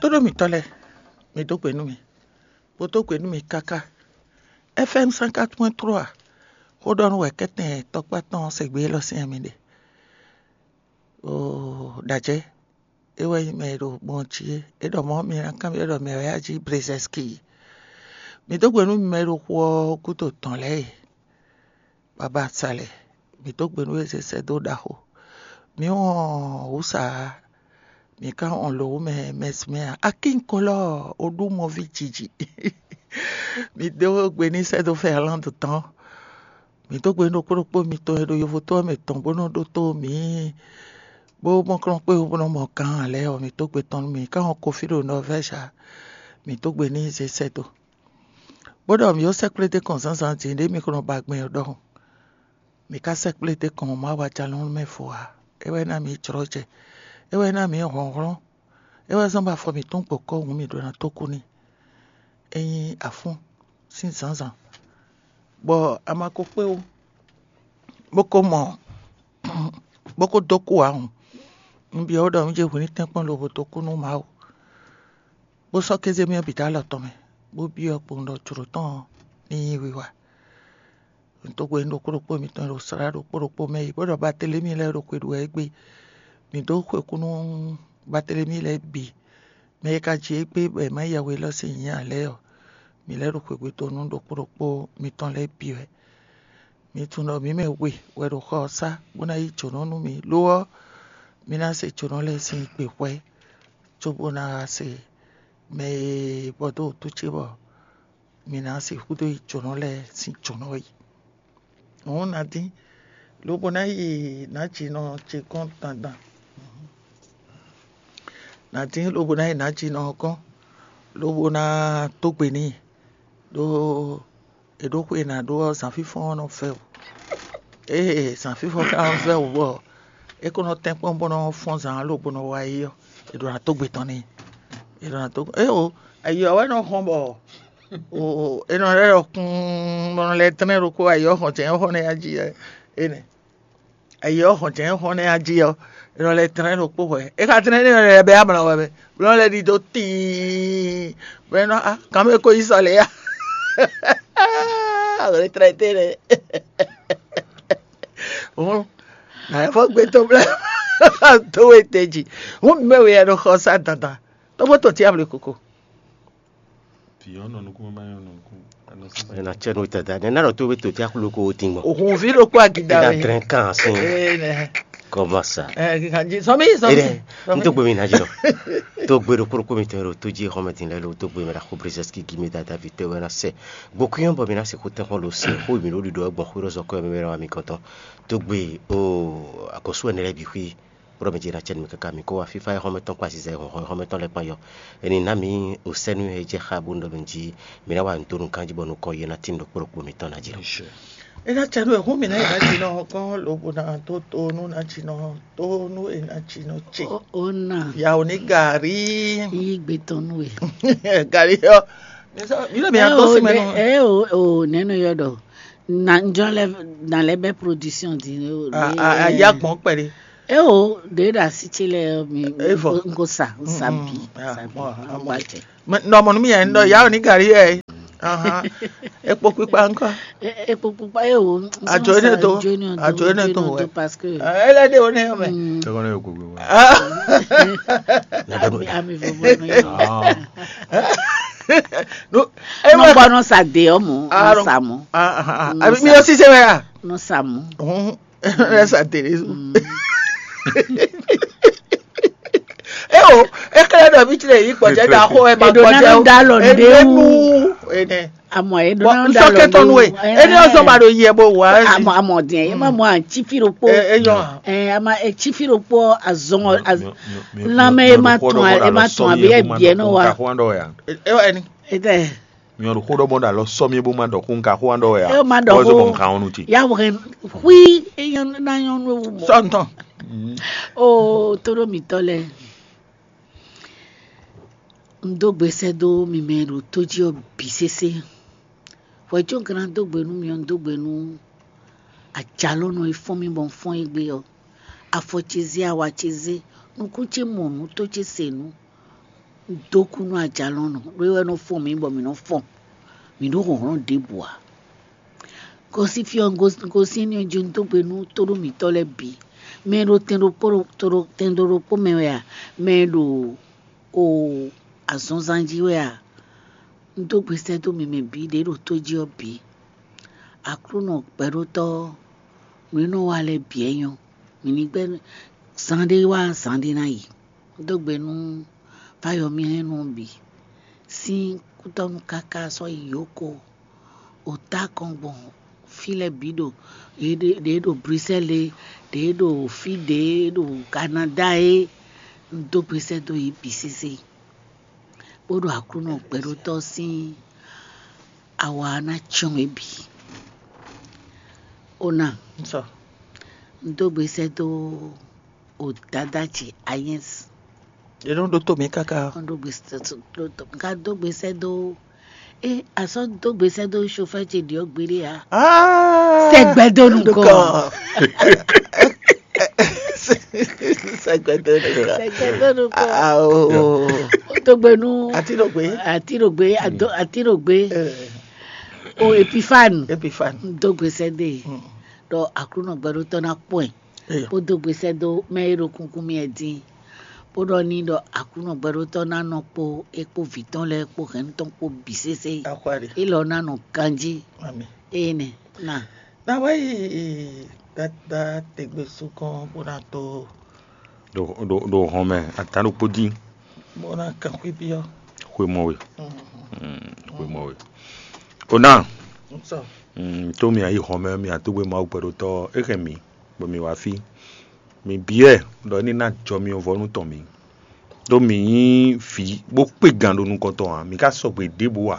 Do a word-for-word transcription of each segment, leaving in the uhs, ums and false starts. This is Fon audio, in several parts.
Tóɖó mǐtɔn lɛ́ɛ, mǐ dó gbe nú mì, bó dó gbe nú mì káká. F M cent quatre point trois, xó ɖɔ nú wɛ kɛ́tɛn tɔkpá tɔn ɔ́ se gbé élɔ́ sín mi ɖe. Oo, ɖajɛ, é wɛ nyí mɛ e ɖo gbɔn jí é. É ɖɔ mɔ̌ mi ná kanbyɔ́ ɖɔ mɛ wɛ a jí Brezɛski. Mǐ dó gbe nú mi mɛ e ɖo xu ɔ́ gúdo tɔn lɛ́ɛ e. Baba Salɛ, mǐ dó gbe nú we zé sɛ́ dó ɖaxó. Mǐ wɔn wǔ sa ǎ, mǐ ka wɔn lǒ wú mɛ mɛsmɛ ǎ. Akínkolɔ, o ɖú mɔví jiji. Mǐ dó gbe ní sɛ́ dó Fɛrlando tɔn. Mǐ dó gbe nú ɖokpó ɖokpó mitɔn e ɖo yovo tó ɔ́ mɛ tɔn bó nɔ ɖótó mǐ, bó mɔ kplɔ́n kpé bó nɔ mɔ gǎn ǎ lɛ́ɛ ɔ́, mǐ dó gbe tɔn nú mǐ. Mǐ ka wɔn Kofi ɖo Nɔvɛ́zi ǎ, mǐ dó gbe ní zé sɛ́ dó. Bó ɖɔ mǐ ó sɛ́ kplé dó kɔn zǎnzǎn din ɖě mi ko nɔ ba gbɛn ɔ́ ɖɔhun. Mǐ ka sɛ́ kplé dó kɔn Mawu ajalɔ̌nlɔn mɛ vo ǎ. É wɛ ná mǐ jlɔ́ jɛ. É wɛ ná mǐ hlɔ̌nhlɔ́n. É wɛ zɔ́n bɔ afɔ mǐtɔn gbɔ̌ kɔ́ hǔn mǐ ɖó ná tó kú n'i. É nyí afún sín zǎnzǎn, bɔ a ma ko kpé ó, bó ko mɔ, bó ko dó kú ǎ hǔn. Un byɔ́ we ɖɔ un jɛ hwǐ ní tɛ́nkpɔ́n lobo dó kú nú Mawu, bó sɔ́ kéze mì ɔ́ bǐ dó alɔ tɔn mɛ, bó byɔ́ kpowun ɖɔ jlǒ tɔn ɔ́ ní nyí wiwa. Un dó gbe nú ɖokpó ɖokpó mitɔn e ɖo slá ɖokpó ɖokpó mɛ yi, bó ɖɔ Batelemi lɛ́ɛ ɖo xwe ɖu wɛ égbé. Mǐ dó xwe kú nú Batelemi lɛ́ɛ bǐ, mɛ e ka ji égbé bɔ è má ya we élɔ́ sín nyǐ ǎ lɛ́ɛ ɔ́, mǐ lɛ́ ɖo xwegbe dó nú ɖokpó ɖokpó mitɔn lɛ́ɛ bǐ wɛ. Mi tunwun ɖɔ mǐ mɛ we wɛ ɖo xɔ ɔ́ sá bó ná yí jǒnɔ nú mǐ; lo ɔ́, mi ná se jǒnɔ lɛ́ɛ sín gbe hwɛ́, cóbó ná wá se mɛ e bɔ dó wǔtu ce bɔ mi ná sixú dó yi jǒnɔ lɛ́ɛ sín jǒnɔ yi. Hǔn ná dín, lobo ná yi nǎjinɔ ce gɔ́n dandan. Ná dín lobo ná yi nǎjinɔ ɔ́ gɔ́n, lobo ná dó gbe n'i, ɖó è ɖǒ xwe e nǎ ɖó ɔ́, zǎnfínfɔ́n ɔ́ nɔ vɛ́ wǔ. Ée zǎnfínfɔ́n ka nɔ vɛ́ wǔ bɔ é ko nɔ tɛ́nkpɔ́n bó nɔ fɔ́n zǎn lobo nɔ wá yi ɔ́, è ɖǒ ná dó gbe tɔn n'i. È ɖǒ ná dó éwo, ayi ɔ́ wɛ nɔ hɔn bɔ o è nɔ lɛ́ ɖɔ kún bɔ nɔ lɛ́ tlɛ́n ɖokpó ayi ɔ́ hɔn jɛ̌n ɔ́ hɔn nɛ́ jí ɛ énɛ́. Ayi ɔ́ hɔn jɛ̌n hɔn nɛ́ jí ɔ́, è nɔ lɛ́ tlɛ́n ɖokpó hwɛ. É ka tlɛ́n ní è nɔ lɛ́ bɛ́ amlɔ wɛ mɛ, bó nɔ lɛ́ ɖidó tíin, bɔ é nɔ á kan mɛ ko yi sɔ lě ya. Lě tlɛ tɛ́ nɛ́. Hǔn nǎ fɔ gbé tɔn blɛ́ dó we te jí. Hǔn mɛ we ya nɔ xɔ sá dandan, tó bó tɔn cí amlɔ koko. Vǐ ɔ́ nɔ nukún mɛ má nyɔ́ nɔ nukún. Ɛ na cɛ nú tata ne na ɖɔ tó be to tí aklo ko o tin gbɔn. Òhun ví ɖokpó agida Ina wɛ. Drɛn kan sin. Ee nɛ. Kɔma sa. Ɛ kanji sɔmi sɔmi. Ede n tó gbe mi na jɔ. Tó gbe ɖokpó ɖokpó mi tɔn ɖo tó jí xɔmɛ din lɛ lo tó gbe mi ɖa xó brezɛski gi mi dada vi tɛ wɛ na sɛ. Gbɔkúnyɔ bɔ mi na se xó tɛn xɔ lo se xó mi ɖo ɖiɖɔ gbɔn xó ɖo zɔkɔ mi wɛ mi gɔtɔ. Tó gbe o akɔsu ɛnɛ lɛ bi xwi. Kplɔ́ mɛ ce ná cɛ nú mì káká mì kó wá fífá e xɔ́mɛ tɔn kpó aziza e hɔn xɔ́mɛ tɔn lɛ́ɛ kpán yɔ. Eni ná mǐ o sɛ́nú e jɛ xá bónú ɖɔ mǐ jí mǐ ná wa nǔ dó nukán jí bɔ nukɔn yě ná tín ɖokpó ɖokpó mǐtɔn ná jí nɔ. É ná cɛ nú e hún mǐ ná yi ná jí nɔ gɔ́n lobo ná dó to nú ná jí nɔ tó nú e ná jí nɔ ce. Ó ná Yawo ní gǎrí. Yí gbe tɔn nú e. Gǎrí ɔ́. Mí lé mǐ ná dó sí mɛ nú. Ɛ o o nɛnu yɔ ɖɔ na njɔ lɛ na lɛ bɛ production di. Ayá gbɔn kpɛɖé. Eo ɖe ɖe asi ce lɛ mi. Evɔ. Nko sa sa bi sa bi. Nɔ mɔ nú mi yɛn ɖɔ yawo ní gari yɛ. Ekpo kpikpa ŋkɔ. Ekpo kpikpa ye o. Adzo ene to. Adzo ene to wɛ. Parce que ele de o ne yɔ mɛ. Tɔgɔ ne yɔ gbogbo. Ami ami vovo no yɔ. No. Nɔ gbɔ nɔ sa de ɔmɔ nɔ sa mɔ. Abi mi yɔ sise wɛ ya. Nɔ sa mɔ. Ɛ sa tele su. E o, e kɛlɛ dɔ mi tle yi kpɔjɛ da xo e ma kpɔjɛ o. Eɖo na da lɔ nde wu. Ene. Amɔ eɖo na da lɔ nde wu. Bɔn nsɔkɛ tɔnu e, eni ɔzɔ ma ɖo yɛ bo wa. Amɔ amɔ diɛ e ma mɔ atsi fi ɖokpo. E yɔ. Ɛ ama etsi fi ɖokpo azɔn. Lanmɛ e ma tɔn e ma tɔn abe ebiɛ nɔ wa. E wɔ ɛni. Etɛ. Nyɔnu xó ɖɔ bɔ ɖo alɔ sɔ mi bó ma ɖɔ xó nka xó an ɖɔ wɛ a. E ma ɖɔ xó. Bɔ nka ɔnu ti. Ya wɛ hui eyan na nyɔnu ewu mɔ. Sɔ ntɔn. O tóɖó mǐtɔn lɛ. Un dó gbesɛ dó mi mɛ ɖo tó jí ɔ bǐ sésé. Hwɛ có un ka ná dó gbe nú mi ɔ́, un dó gbe nú ajalɔ́nɔ e fɔ́n mì bɔ un fɔ́n égbé ɔ́. Afɔ ce zé, awa ce zé, nukún ce mɔ nǔ, tó ce se nǔ. Dó kú nú ajalɔ̌nɔ, ɖó é wɛ nɔ fɔ́n mǐ bɔ mǐ nɔ fɔ́n. Mǐ ɖó hlɔ̌nhlɔ́n ɖěbǔ ǎ. Gosín fí ɔ́, gosín ní ɔ́ jí un dó gbe nú tóɖó mǐtɔn lɛ́ɛ bǐ. Mɛ e ɖo tɛn ɖokpó tɛn ɖokpó mɛ wɛ a? Mɛ e ɖo o azɔnzan jí wɛ a? Un dó gbe sɛ́ dó mi mɛ bǐ ɖě ɖo tó jí ɔ́ bǐ. Aklúnɔ gbɛɖótɔ́, nǔ e nɔ wa lɛ́ɛ bǐ wɛ nyɔ́. Mǐ ní gbɛ́ zán ɖé wá zán ɖé ná yi. Un dó gbe nú Fáyɔmilɛ́nu bǐ sín kútɔ́nú káká sɔ́ yi yǒko. O tá kɔn gbɔn fí lɛ́ɛ bǐ ɖo ɖě ɖo Brisɛ́li, ɖě ɖo fí ɖě ɖo Kanadá é, un dó gbe sɛ́ dó yě bǐ sésé, bó ɖo Aklúnɔ gbɛɖótɔ́ sín awa ná cyɔ́n yě bǐ. Ona, un dó gbe sɛ́ dó o dada ce Ayɛ́ns. È nɔ ɖótó mǐ káká. Ɔ́ ɖó gbe sɛ́ dó, ɖó tɔ- ká dó gbe sɛ́ dó. É, a sɔ́ dó gbe sɛ́ dó chauffeur ce ɖiɔ gbeɖé ya. Ah! Sɛgbɛ dó nukɔn. Sɛgbɛ dó nukɔn. Sɛgbɛ dó nukɔn. Ah, oh, oh. Ó dó gbe nú Atinogbe. Atinogbe, Ado- Atinogbe. Eh. O Epifane. Epifane. Dó gbe sɛ́ dó e. Mm. Ɖɔ Aklúnɔ gbɛɖótɔ́ ná kpɔ́n ɛ. Eyo. Bó dó gbe sɛ́ dó mɛ e ɖo kunkun mì wɛ din, bó ɖɔ n'i ɖɔ Aklúnɔ gbɛɖótɔ́ ná nɔ kpó é kpó vǐ tɔn lɛ́ɛ kpó hɛn tɔn kpó bǐ sésé. Axwali. Élɔ́ ná nɔ ganjí. Ami. Eye nɛ na. Na wá yi dada tegbe sukɔn bó ná tó. Ɖo ɖo ɖo hɔn mɛ atán ɖokpó dín. Bó ná kan xwé byɔ́. Xwé mɔ we. Mm. Mm, xwé mɔ we. O ná. Sɔ. Mm, tó mi ayi hɔn mɛ mi atógbe Mawu gbɛɖótɔ́ é hɛn mi. Bɔ mǐ wá fí. Mǐ byɔ́ ɛ ɖɔ é ní ná jɔ myɔvɔ́nu tɔn mǐ. Ɖó mǐ nyí vǐ bó kpé gan ɖo nukɔn tɔn ǎ, mǐ ka sɔgbe ɖěbǔ ǎ.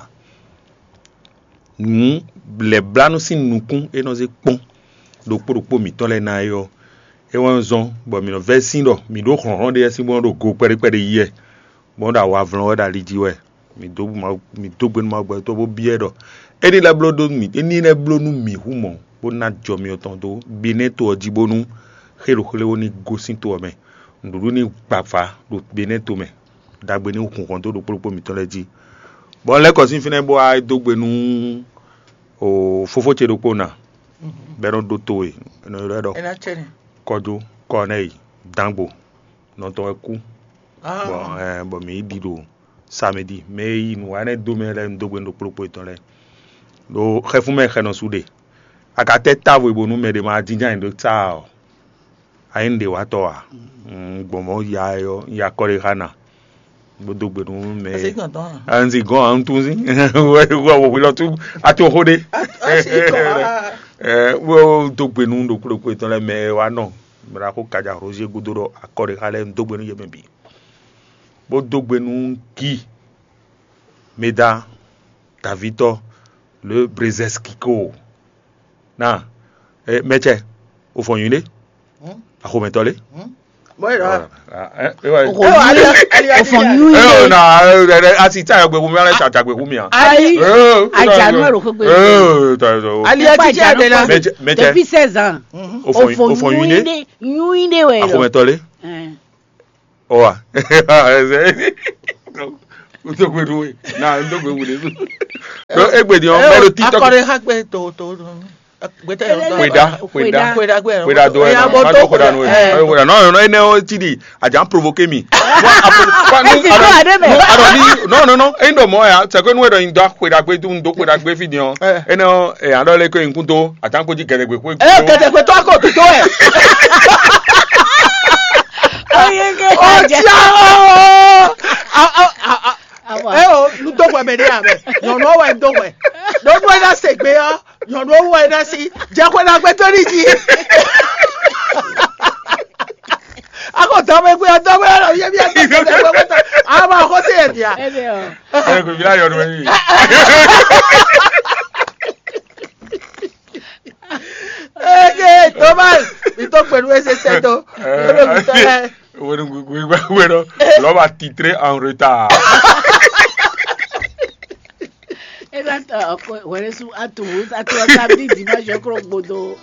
Nǔ lɛ̌blánú sín nukún é nɔ zé kpɔ́n ɖokpó ɖokpó mǐtɔn lɛ́ɛ ná é ɔ́, é wɛ zɔ́n bɔ mǐ nɔ vɛ́ sín ɖɔ mǐ ɖó hlɔ̌nhlɔ́n ɖé sín bó nɔ́ ɖo go kpɛɖé kpɛɖé yí wɛ. Bɔ ɖo awavlɔ́n wɛ ɖo ali jí wɛ. Mǐ dó Mawu, mǐ dó gbe nú Mawu gbɛtɔ́ bó byɔ́ ɛ ɖɔ é ní lɛ́ bló dó mǐ, é ní lɛ́ bló nú mǐ hú mɔ̌, bó ná jɔ myɔ tɔn dó Benɛ́to ɔ́ jí bónú xé ɖo xlé ó ní gosín to ɔ́ mɛ. Nǔɖuɖu ní gbavǎ ɖo Benɛ́to mɛ, ɖagbe ní hun hɔn dó ɖokpó ɖokpó mǐtɔn lɛ́ɛ jí. Bɔ un lɛ́ kɔ sín fínɛ́ bó wá dó gbe nú o fofó ce ɖokpó ná, bɔ é nɔ ɖótó we, è nɔ ylɔ́ ɛ ɖɔ Ena cɛnɛ. Kɔjó Kɔnɛyi Dangbo nɔ tɔn wɛ kú. Ah. Bɔ ɛ bɔ mǐ yi ɖi ɖo samedi mɛ e yi nǔ wa énɛ́ dó mɛ lɛ́ɛ un dó gbe nú ɖokpó ɖokpó yětɔn lɛ́ɛ. Ɖo xɛfún mɛ xɛnɔ su ɖe. A ka tɛ́ távo e bónú mɛ ɖé ma jínjɔ́n ayǐ ɖó tsáa ɔ́, a nyí nǔɖéwatɔ́ ǎ. Un gbɔn mɔ̌ ya ɛ ɔ́, un ya akɔ ɖé xá ná, bó dó gbe nú mɛ. Asi gɔn tɔn a? Un si gɔn ǎ, un tún sí. Wɛ wɛ wɛ hwelɔ́ tún a tún xó ɖé. Asi gɔn a? Ɛ wɛ dó gbe nú ɖokpó ɖokpó yětɔn lɛ́ɛ mɛ e wá nɔ. Mɛ ɖaxó Kaja Roger gúdo ɖɔ akɔ ɖé xá lɛ́ɛ un dó gbe nú yě mɛ bǐ. Bó dó gbe nú Gi Meda Davitɔ le Brezeskiko. Na e mɛtsɛ o fɔ nyuiɖe. Axomɛtɔ le. Bɔyɔ. Xɔ nyuiɖe. O fɔ nyuiɖe. Ɛ na asi tsa yɔ gbɛkú mi alɛ tsa tsa gbɛkú mi a. Ayi. Ajanu ero xogbe. Ɛ ta so. Ali ati tsa de la. Mɛtsɛ mɛtsɛ. Depuis seize ans. O fɔ o fɔ nyuiɖe. Nyuiɖe wɛ lɔ. Axomɛtɔ le. Ɔwa. Ntogbe nu we na ntogbe wu de. Egbe di ɔn mɛ ɖo TikTok. Akɔrɔ ha gbɛ to to. Gbɛtɛ yɔ dɔn. Kweda kweda. Kweda gbɛ. Kweda do ɛ na ma do kweda nu we. Kweda nɔ nɔ ene o ti di a jan provoke mi. Adɔ bi nɔ nɔ nɔ eyin dɔ mɔ ya sɛ ko nu wɛ dɔ yin dɔ kweda gbe dun do kweda gbe fi di ɔn ene o ɛ adɔ le ko yin kun to a jan ko ji gɛdɛgbe ko. Ɛ gɛdɛgbe tɔ ko to ɛ. Oyege Ọjà o. Ẹ o, nu dó hwɛ mɛ ní amɛ. Nyɔnu wɛ dó hwɛ. Ɖó nú ɛ ná se gbé ɔ́, nyɔnu wɛ ná sí. Jɛ hwɛ ná gbé tó ní jí. Ako dɔmɛ gbé ɔ́, dɔmɛ ɔ́, yɛ bí ɛ tó tɛ gbé tó. Ama ko se yɛ dia. Ẹ kò fi láyọ̀ ọdún mẹ́rin. Eke Thomas, mi tó pẹ̀lú ẹsẹ̀ sẹ́tọ̀. Lórí mi tọ́lẹ̀. Wenu gbigbe gbẹgbẹ dɔ lọba titre en retard. Ena tɔ ọkọ wẹrẹ su atu atu samedi dimanche kro gbodo.